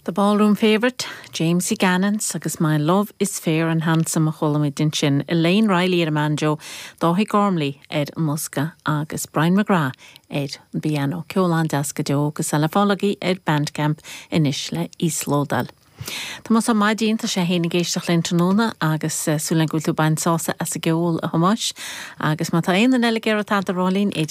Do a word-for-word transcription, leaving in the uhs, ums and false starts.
The Ballroom Favourite, Jamesie Gannons agus My Love is Fair and Handsome a chuala muid ansin Elaine Riley ar an mbanjo, Dáithí Gormley ar an mbosca agus Brian McGrath ar an bpianó ceol an-deas go deo agus le fáil agaibh ar Bandcamp anois le íoslódáil. Tomás Ó Maidín tá sé héana géisteach linn tráthnóna agus eh, súil go bhfuil tú ag baint sásamh as an gceol a Thomáis, agus má tá aon eile géar tá rálín